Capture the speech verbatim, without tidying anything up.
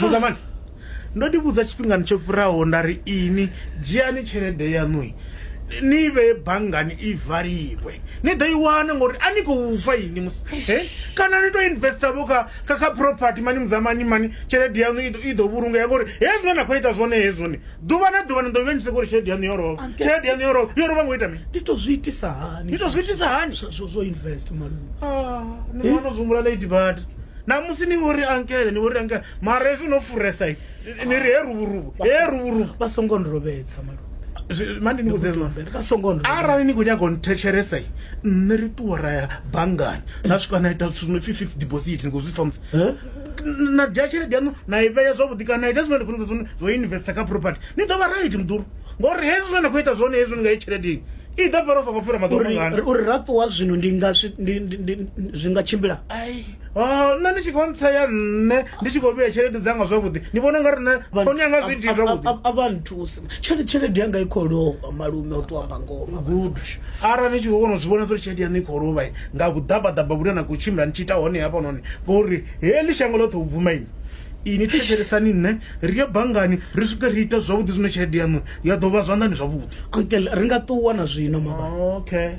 Muzamani, ndo ni vhudza tshifhingani tsho fhiraho nda ri ini dzhiani tshelede yaṋu ni vhee banngani i valiwe, ni ḓo i wana ngori a ni khou fa ini musi. He? Kana ni to investa vho kha kha kha property mani muzamani mani, tshelede yaṋu i ḓo i ḓo vhulungea ngori hezwi zwine na khou ita zwone hezwoni ḓuvha na ḓuvha ni ḓo vha ni soko uri tshelede yaṋu yo lovha, Anke- tshelede yaṋu yo lovha, yo lovha ngo ita mini? Ndi to zwi itisa hani? Ni to zwi itisa hani? Zwo- zwo zwo invest, malume. Ah, ni wana zwi humbula late bad namusi ni vhori ankele, ni vhori ankele, mara hezwi no furesa ni ri he ruvhuruvu, he ruvhuruvu. Vha songo nrovhedza, malume. Zwi- mani ni vhudze zwino. Vha songo nrovhedza. Arali ni khou nyaga u nthetshelesa, nṋe ri ṱuwa ra ya banngani na swika na ita zwithu zwi no pfi fixed deposit, ni khou zwi pfa musi? Eh? Na dzhia tshelede yaṋu na i vhea zwavhuḓi, kana na ita zwine ndi khou nyaga zwone zwo investa kha property, ni ḓo vha right muḓulu, ngori hezwi zwine na khou ita zwone hezwi nga i tshelede ini i ḓo fhela u songo fhira maḓuvha Uri mangana. Uri ra ṱuwa zwino ndi nga swi- ndi- ndi- ndi- zwi nga tshimbila? Ai, oh, nṋe ndi tshi khou ntsea, nṋe ndi tshi khou vhea tshelede dzanga zwavhuḓi, ni vhona nga ri nṋe thoni yanga zwi iti zwavhuḓi? A vha nthusi, tshelede tshelede yanga i khou lovha, malume, u to amba ngoho. Good, arali ni tshi khou kona u zwi vhona uri tshelede yaṋu i khou lovha nga vhuḓabaḓaba vhune na khou tshimbila ni tshi ita hone hafhanoni, ngori heḽi shango ḽoṱhe u bvuma ini, ini thetshelesani nṋe, ri ye banngani ri swike ri ite zwavhuḓi zwine tshelede yaṋu ya ḓo vha zwanḓani zwavhuḓi. Uncle, ri nga ṱuwa na zwino mabani? Okay.